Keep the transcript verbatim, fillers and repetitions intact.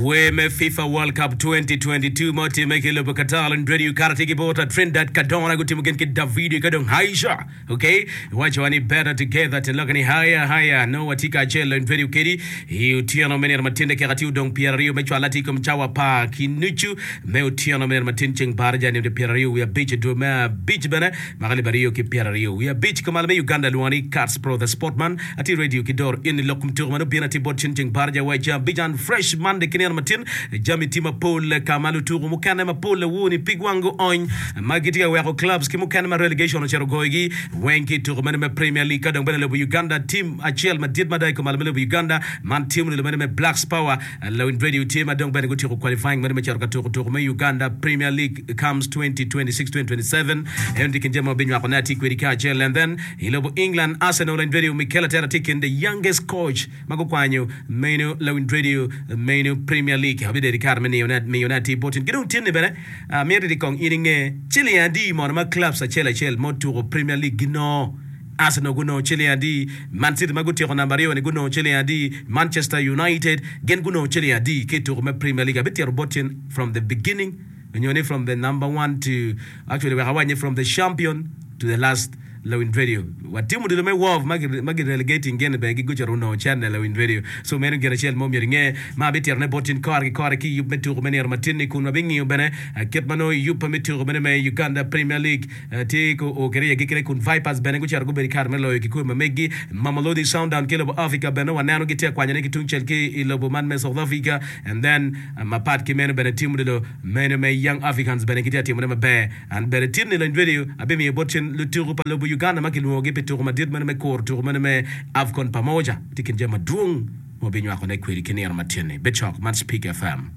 Wer me FIFA World Cup twenty twenty-two ma otimme ki i lobo Qatar lony radio kara tye ki bot Trinidad Kadona gutimo gin ki Davido ka dong Aisha ok iwaco wa ni better together te lokke ni haya haya nongo watye kacel lony radio kedi i otyeno me nino matin dakika tye odong pyeraryo me cwal atir i kom cawa apar ki nucu me otyeno me nino matin ceng baraja nino pyeraryo wiye abic dwe me abic bene mwaka alip aryo ki pyeraryo wiye abic kumalo me Uganda lwongo ni Kats Pro the Sportman Atye radio ki doro eni lok kom tuko ma nongo bino atir bot cen ceng baraja wa i ceng abic and fresh Monday ki nino matin jami tye mapol ka ma lutuku mukene mapol awoni pig wang gu ony ma gitye ka weko clubs ki mukene ma relegation ocito goyogi weng ki i tuko meno me Premier League ka dong bene lobo Uganda team acel madit mada i kumalo me lobo Uganda man team odilo meno me Blacks Power Lawiny radio tye ma dong bene gutyeko qualifying meno me cito ka tuko tuko me Uganda Premier League comes twenty twenty-six twenty twenty-seven eno tye kin jami ma wabinywako ne atir kwedi kacel and then I lobo England, Arsenal and Radio Mikel Arteta tye i kin the youngest coach ma gukwanyo meno lawiny radio meno Premier League. Abibedo ki kare me miyone atir bot in. Ki dong tin-ni bene, amito ni kong in inge ciling adi mono ma clubs acel acel ma otuko Premier League ginongo. Arsenal gunongo ciling adi? Man City ma gutyeko namba aryo-ni gunongo ciling adi? Manchester United gin gunongo ciling adi ki i tuko me Premier League? Abitito bot in from the beginning nyo ni from the number one to actually wek awac ni from the champion to the last Lawiny Radio. Watimo odilo me Wov ma gi relegating gin ni bene gi gucito onongo cene Lawiny Radio. So meno gin acel mo myero inge ma abitito ne bot in kore ki kore ki yub me tuko me nino matin ni kun wabingiyo bene kit ma nongo yub me tuko mene me Uganda Premier League tye ko o kede i agikine kun Vipers bene gucito gubedo i kare me loyo kikome ma meggi. Mamelodi Sundown ki lobo Africa bene waneno gitye ka kwanyone ki tungcel ki i lobo man me South Africa and then mapat ki meno bene tim odilo meno me Young Africans bene gitye ka timone maber. An bene tin ni lony radio abimiyo bot cen lutuku pa lobo Uganda ma kilwongogi pi tuku madit meno me kuro tuku meno me AFCON Pamoja tye kin jami madwong ma wabinywakone kwedi ki nino matin-ni. Bed cok, man Speak F M.